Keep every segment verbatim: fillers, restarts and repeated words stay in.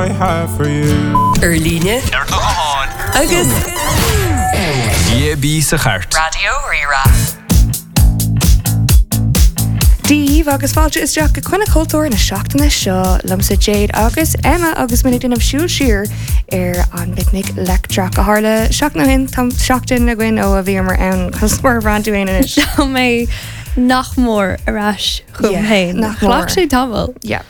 I have for you. Ar líne Ar do ghuthán agus D A B sa chairt. Raidió Rí-Rá. Díomh agus fáilte isteach go Coinne Cultúir na seachtaine seo liomsa Jade agus Emma agus muid ag déanamh siúl siar ar an bPicnic Leictreach a tharla seachtain ó shin. Tá seachtain againn ó a bhíomar ann cos mar bhran tú anois. Tá mé nach mór ar ais chugam Yeah, féin. nach mór. Ghlac sé tamall. Yeah.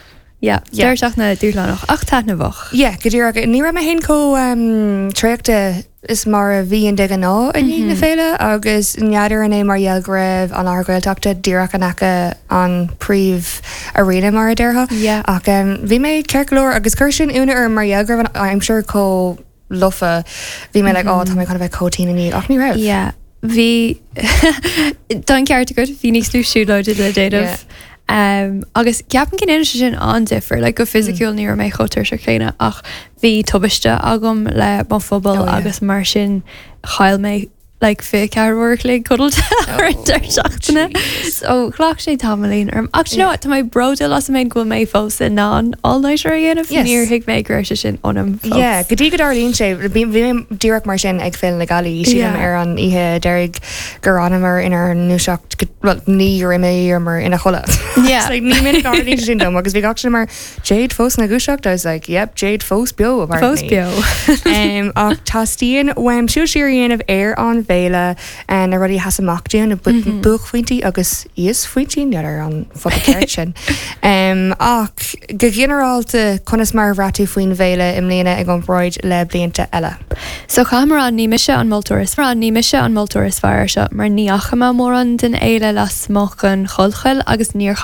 Yeah, Yeah. Deireadh seachtaine dúshlánach ach taitneamhach. Yeah, go díreach. Ní raibh mé féin chomh um, traochta is mar a bhíonn de ghnáth i ndiaidh na féile agus n'fheadar an é mar gheall go raibh an láthair Ghaeltachta díreach in aice an príomh arena mar a déarfá. Yeah. Ach um, bhí mé ceart go leor agus chuir sin ionadh orm mar gheall go raibh an aimsir chomh lofa. Bhí mé like, "Oh, tá mé chun a bheith chomh tinn inniu," ach ní raibh. Yeah. Bhí tá an ceart agat, bhí níos lú siúlóide le déanamh. Um, agus ceapaim go ndéanann sé sin an-difear, like, go fisiciúil ní raibh mé chomh tuirseach céanna ach bhí tubaiste agam le mo phuball Oh, yeah. agus mar sin chaill mé like fiche ceathair uair a chloig codlata ar an deireadh seachtaine. So ghlac sé tamaillín orm. Ach you know what, tá mé bródúil asam féin go bhfuil mé fós in ann all-nighter a dhéanamh. Yes. Níor thuig mé go raibh sé sin ionam fós. Yeah, go dtí go dtarlaíonn sé bhí bhí mé díreach mar sin ag Féile na Gealaí. Sílim Yeah. ar an oíche deiridh gur fhanamar inár ndúiseacht go- well, ní raibh ina chodladh. Yeah. Like, ní minic a tharlaíonn sé sin dom agus bhí gach sin mar Jade fós ina dúiseacht. I was like, "Yep, Jade fós beo," Fós apparently. beo. um, ach teastaíonn uaim siúl siar a dhéanamh ar an bhféile uh, na rudaí a sheas amach dúinn, na bu- buaicphointí agus íosphointí ar an focal ceart sin. Um, ach go ginearálta, conas mar a bhraith tú faoin bhféile i mbliana i gcomparáid le blianta eile? So caithfidh mé ní mise an moltóir is fearr ní mise an moltóir is fearr seo mar ní fhaca mé mórán den fhéile lasmuigh den Chollchoill agus níor